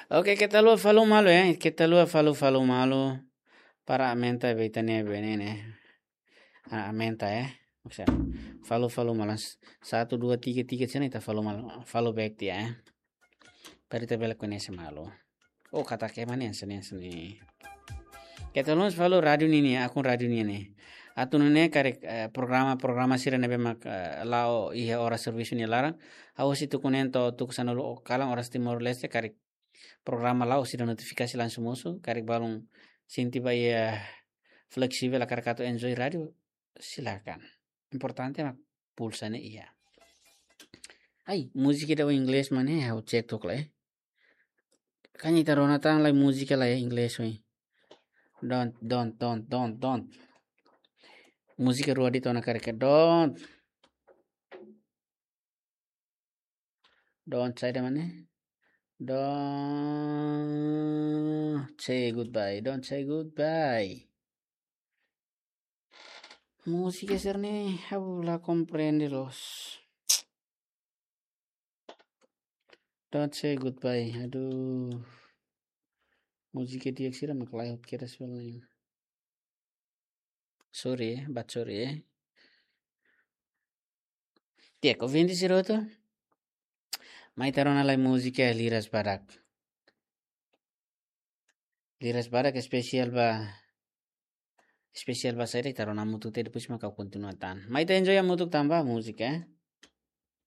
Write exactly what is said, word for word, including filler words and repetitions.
Oke, keta haluha follow malu, eh. Keta haluha follow, follow malu. Para aumenta be ita-nia be ne'e, ne'e. Ah, aumenta, eh. Maksudnya, follow, follow malu. Satu, dua, tiga, tiga, sini ita follow malu. Follow back tiha, eh. Para ita bele koñese malu. Oh, katak ema ne'e, sini, sini. Keta haluha follow rádiu nian, akun rádiu nian. Atu nune'e karik, eh, programa, programa sira ne'ebé mak, eh, la'o iha oras servisu nia laran. Ha'u sei tuku neen to'o tuku sanulu kalan oras Timor-Leste, karik programa la'o sira notifikasi langsung mosu, karik balun sente ba iha fleksivel hakarak atu enjoy rádiu, silakan. Importante mak pulsa ne'e iha. Ai, múzika ida inglés mak ne'e, ha'u cek tok lai. Kan ita rona tan lai múzika lai inglés, oi. Don't, don't, don't, don't, don't. Múzika rua de'it ona karik, don't. Don't say the money. Don't say goodbye. Don't say goodbye. Múzika sira-ne'e, ha'u la komprende loos. Don't say goodbye. Aduh. Múzika di'ak sira mak lae hotu kedas bel ne'e. Sorry, eh, but sorry, eh. Di'ak, ouvinte sira hotu. Mai ita rona lai múzika Liras Badak. Liras Badak espesiál ba, espesiál ba saida, ita rona hamutuk tiha, depois mak ha'u kontinua tan. Mai ita enjoy hamutuk tanba múzika, eh.